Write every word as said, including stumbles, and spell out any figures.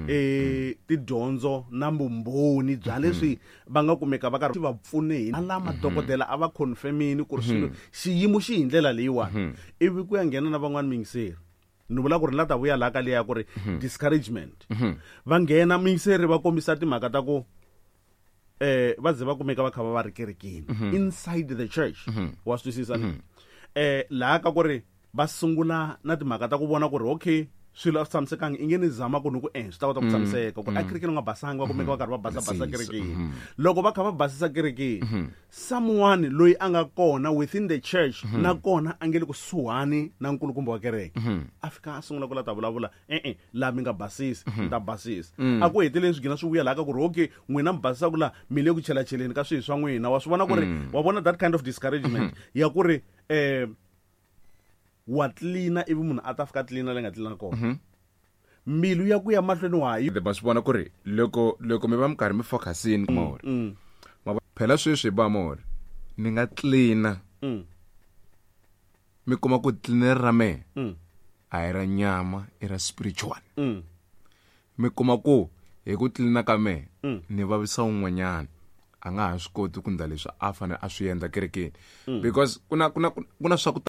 eh tidyondzo na vumbhoni bya leswi va nga kumeka va karhi va pfune hi la madokodela a va confirmini ku ri swilo xiyimo xi hi ndlela leyiwani. Ivi ku ya nghena na van'wani miyingiseri, ni vula ku ri la ta vuya laha ka liya ku ri discouragement, va nghena miyingiseri va kombisa timhaka ta ku eh va ze va kumeka va kha va va ri kerekeni, inside the church, wa swi twisisa ni eh laha ka ku ri va sungula na timhaka ta ku vona ku ri okay, swilo a swi tshamisekangi, i nge ni zama ku ni ku eh swi ta kota ku tshamiseka ku a kerekeni u nga basanga, va kumeka va karhi va basa basa Basisa, kerekeni. Loko va kha va basisa kerekeni, someone loyi a nga kona within the church na kona a nge le kusuhani na nkulukumba wa kereke, a fika a sungula ku la ta vulavula, e-e, laha mi nga basisi, mi ta basisa. A ku heteleli swi gina swi vuya laha ka ku ri okay, n'wina mi basisaku laha mi le ku chelacheleni ka swihi swa n'wina. Wa swi vona ku ri wa vona that kind of discouragement ya ku ri um wa tlilina, ivi munhu a ta fika a tlilina le nga tlilina kona, mbilu ya ku ya mahlweni wa ha yi. Ma swi vona ku ri loko loko mi va mi karhi mi focusini mori Mm, ma vo- phela sweswi ba mori ni nga tlina, mm, mi kuma ku tlineri ra mehe mm, a hi ra nyama, i ra spiritual. mm, Mi kuma ku hi ku tlilina ka mehe Mm. ni vavisa un'wanyana, a nga ha swi koti ku ndla leswi a fanele a swi endla kerekeni, because ku na ku na ku na swa ku